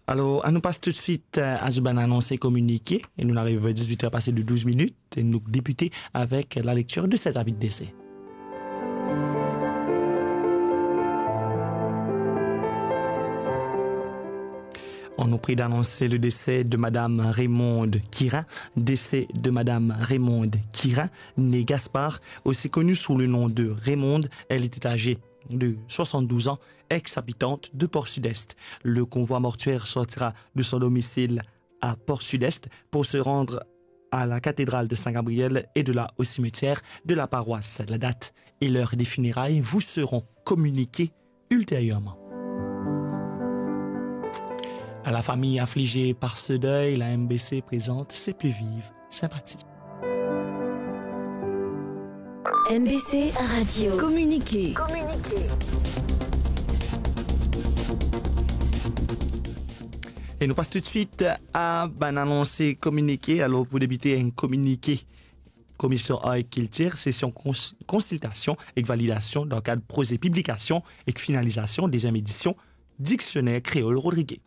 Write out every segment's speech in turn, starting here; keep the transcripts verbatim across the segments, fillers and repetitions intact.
Alor, anou pas toutswit, eh, a zot bann anons e kominike, e nou ariv dizwit er pase de douz minit, e nou debite avek la lecture de cet avis de décès. On nous prie d'annoncer le décès de Madame Raymonde Quirin. Décès de Madame Raymonde Quirin, née Gaspard, aussi connue sous le nom de Raymonde. Elle était âgée de soixante-douze ans, ex-habitante de Port-Sud-Est. Le convoi mortuaire sortira de son domicile à Port-Sud-Est pour se rendre à la cathédrale de Saint-Gabriel et de là au cimetière de la paroisse. La date et l'heure des funérailles vous seront communiquées ultérieurement. À la famille affligée par ce deuil, la M B C présente ses plus vives sympathies. M B C Radio. Communiqué. Communiqué. E nou pas toutswit a bann anons e kominike. Alor, pou debite, enn kominike Komision Art ek Kiltir, sesion kons-, konsiltasion ek validasion dan kad proze piblikasion ek finalizasion deziem edision Diksioner Kreol Rodrige.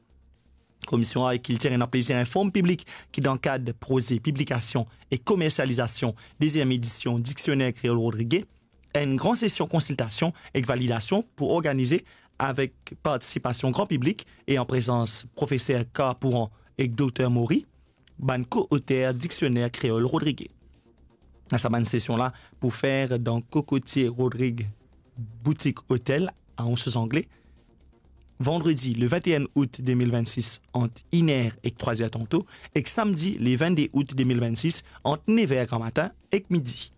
Komision Art ek Kiltir ena plezir inform piblik ki dan kad proze piblikasion ek komersializasion deziem edision Diksioner Kreol Rodrige, enn gran sesion konsiltasion ek validasion pou organize avek partisipasion gran piblik e an prezans profeser Carl Pouran ek Dokter Maury, bann ko-oter Diksioner Kreol Rodrige. Sa bann sesion la pou fer dan Cocotier Rodrigues Boutique Hotel a Anse aux Anglais, vandredi le vingt et un août deux mille vingt-six ant inn er ek trwa er tanto, ek samdi le vingt-deux août deux mille vingt-six ant nev er gramatin ek midi.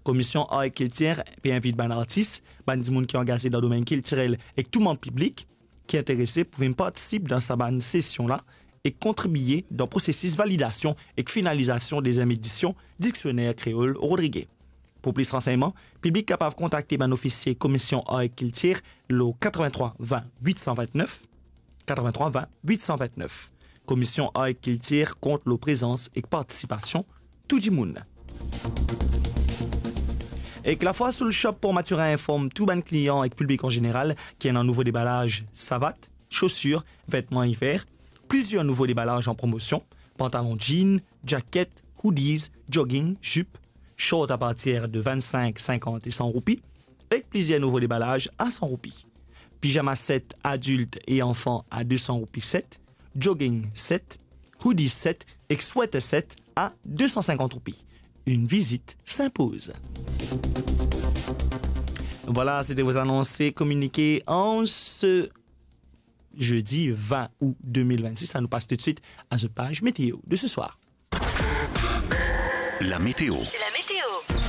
Komision Art ek Kiltir pe invit bann artis, bann dimoun ki angaze dan domenn kiltirel ek tou manb piblik ki interese pou vinn partisip dan sa bann sesion la e kontribie dan prosesis validasion ek finalizasion deziem edision Diksioner Kreol Rodrige. Pou plis ransegnman, piblik kapav kontakte bann ofisie Komision Art ek Kiltir lor katrevin-trwa vin wit san vin-nef, katrevin-trwa vin wit san vin-nef. Komision Art ek Kiltir kont lor prezans ek partisipasion tou dimoun. Ek Lafwa Soul Shop Port Mathurin inform tou bann klian ek piblik an zeneral ki ena nouvo debalaz savat, sosir, vetman iver, plizier nouvo debalaz an promosion, pantalon jean, jaket, hoodies, jogging, zip, short apartir de vinn-sink, sinkant e san roupi, ek plizier nouvo debalaz a san roupi. Pijama set adilt e anfan a de san roupi set, jogging set, hoodie set ek sweater set a de san sinkant roupi. Une visite s'impose. Voilà, c'était vos annonces et communiqués en ce jeudi vingt août deux mille vingt-six. Ça nous passe tout de suite à notre page météo de ce soir. La météo. La météo.